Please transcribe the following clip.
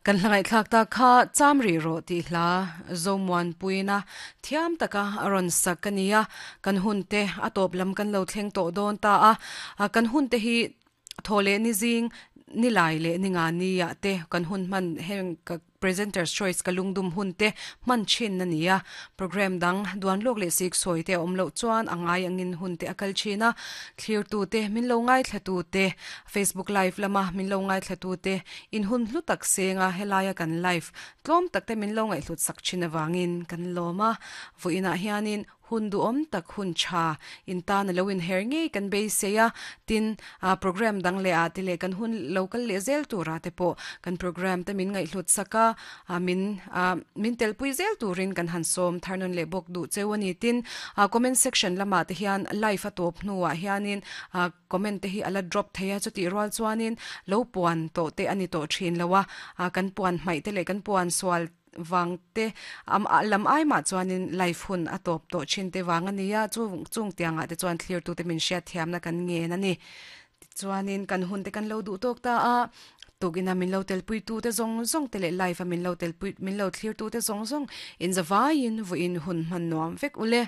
Kan hla ngaihthlak tak kha cham rih rawh tih hla Zomuanpuina thiam taka a rawn sak a ni a, kan hun te a tawp lam kan lo thleng tawh dawn ta a, kan hun te hi thaw leh ni zing ni lai leh ni nga ni ah te kan hun hman heng ka Presenter's Choice ka lungdum hun te hman thin a ni a, program dang duan lawk leh sik sawi te a awm loh chuan a ngai angin hun te a kal thin a, thlirtu te min lo ngaithla tu te Facebook live lama min lo ngaithla tu te in hun hlu tak seng a helaia kan live tlawm tak te min lo ngaihhlut sak thin avangin kan lawm a, vawiinah hianin Hun duhawm tak hun tha in tan a lo inher ngei kan beisei a, tin, program dang leh ah te leh kan hun lo kal leh zel turah te pawh kan program te min ngaihhlut sak a, min min telpui zel turin kan han sawm thar nawn leh bawk duh cheu a ni. Tin, comment section lamah te hian live a tawp hnuah hianin comment te hi a la drop thei a, chutih rual chuanin lo puan tawh te a ni tawh thin lo a, kan puan hmaih te leh kan puan sual vang te lam ai mah chuanin life hun a tawp tawh thin te vang a ni a, chu chung tiangah te chuan thlirtute min hriat thiamna kan ngen a ni. Tichuanin kan hun te kan lo duh tawk ta a, tukina min lo telpui tu te zawng zawng te leh life a min lo telpui min lo thlir tu te zawng zawng inzavaiin vawiin hun hman nuam vek ule.